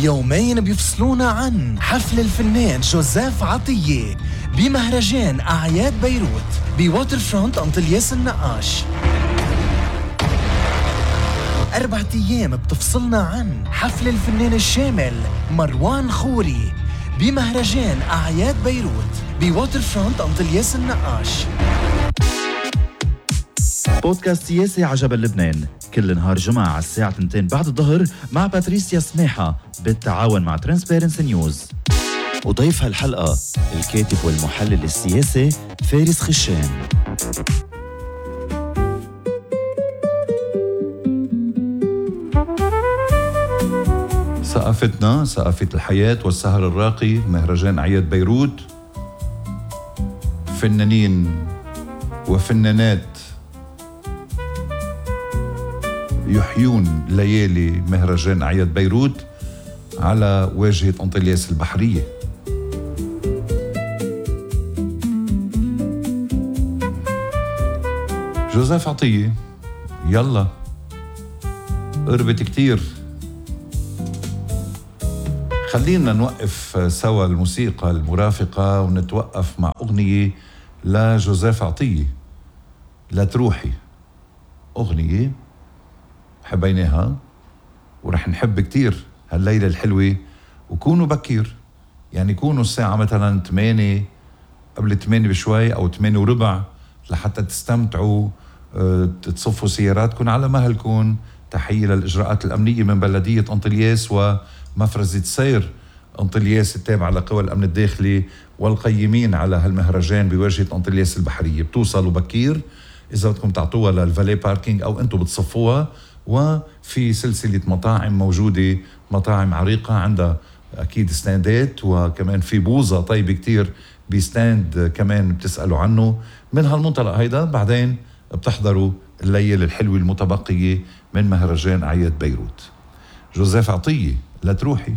يومين بيفصلونا عن حفل الفنان جوزيف عطية بمهرجان أعياد بيروت بواتر فرونت أنطلياس النقاش. 4 أيام بتفصلنا عن حفل الفنان الشامل مروان خوري بمهرجان أعياد بيروت بواتر فرونت أنطلياس النقاش. بودكاست سياسي عجبا لبنان كل نهار جمعة على الساعة 2 بعد الظهر مع باتريسيا سماحة بالتعاون مع ترانسبيرنسي نيوز. وضيف هالحلقة الكاتب والمحلل السياسي فارس خشان. ثقافتنا ثقافة الحياة والسهر الراقي مهرجان أعياد بيروت. فنانين وفنانات يحيون ليالي مهرجان أعياد بيروت على واجهة أنطلياس البحرية. جوزيف عطية يلا قربت كتير. خلينا نوقف سوا الموسيقى المرافقة ونتوقف مع أغنية لجوزيف عطية لا تروحي. أغنية حبيناها ورح نحب كتير هالليلة الحلوة. وكونوا بكير، يعني كونوا الساعة مثلا 8 قبل 8 بشوي أو 8 وربع لحتى تستمتعوا، تصفوا سياراتكم على مهلكم. تحية للإجراءات الأمنية من بلدية أنطلياس ومفرزة سير أنطلياس التابعة لقوى الأمن الداخلي والقيمين على هالمهرجان بواجهة أنطلياس البحرية. بتوصلوا بكير إذا بدكم تعطوها للفالي باركينج أو أنتوا بتصفوها. وفي سلسلة مطاعم موجودة، مطاعم عريقة عندها أكيد ستاندات، وكمان في بوظة طيبة كتير بستاند كمان بتسألوا عنه. من هالمنطلق هيدا بعدين بتحضروا الليلة الحلوة المتبقية من مهرجان أعياد بيروت. جوزيف عطية لا تروحي.